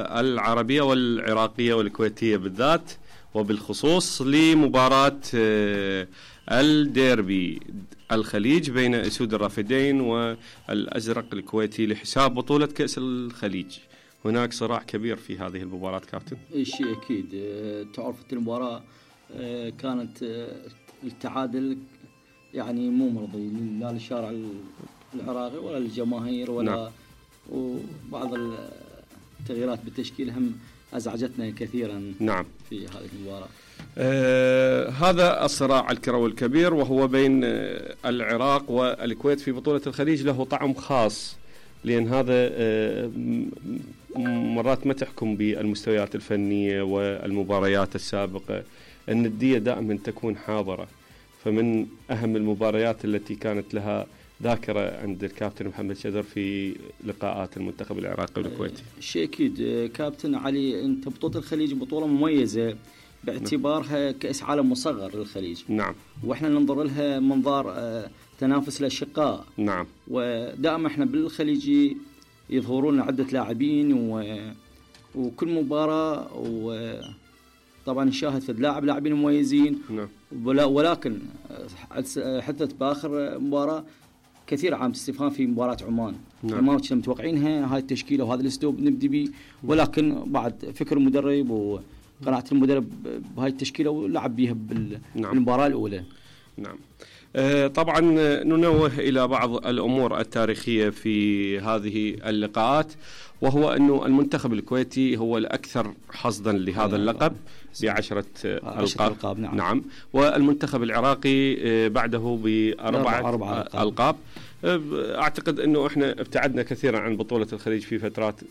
العربية والعراقية والكويتية بالذات وبالخصوص لمباراة الديربي الخليج بين أسود الرافدين والأزرق الكويتي لحساب بطولة كأس الخليج. هناك صراع كبير في هذه المباراة كابتن. شيء أكيد. تعرف المباراة كانت التعادل يعني مو مرضي لا للشارع العراقي ولا للجماهير ولا نعم. وبعض التغييرات بالتشكيل هم أزعجتنا كثيرا نعم في هذه المباراة. هذا الصراع الكروي الكبير وهو بين العراق والكويت في بطولة الخليج له طعم خاص، لأن هذا مرات ما تحكم بالمستويات الفنية والمباريات السابقة، الندية دائما تكون حاضرة. فمن أهم المباريات التي كانت لها ذاكرة عند الكابتن محمد شذر في لقاءات المنتخب العراقي والكويتي. شيء أكيد كابتن علي، أنت بطولة الخليج بطولة مميزة باعتبارها كأس عالم مصغر للخليج. نعم. وإحنا ننظر لها منظار تنافس الأشقاء. نعم. ودائما إحنا بالخليج يظهرون عدة لاعبين وكل مباراة طبعا نشاهد في لاعبين مميزين. نعم. ولكن حتى بآخر مباراة كثير عام استفهام في مباراة عمان. نعم. ما كنا متوقعينها هاي التشكيلة وهذا الاسلوب نبدي به، ولكن بعد فكر المدرب وقناعة المدرب بهاي التشكيلة ولعب بيها بالمباراة الأولى. نعم. طبعا ننوه إلى بعض الأمور التاريخية في هذه اللقاءات، وهو أنه المنتخب الكويتي هو الأكثر حصدا لهذا اللقب ب10 ألقاب. نعم. والمنتخب العراقي بعده ب4 ألقاب. أعتقد أنه إحنا ابتعدنا كثيرا عن بطولة الخليج في فترات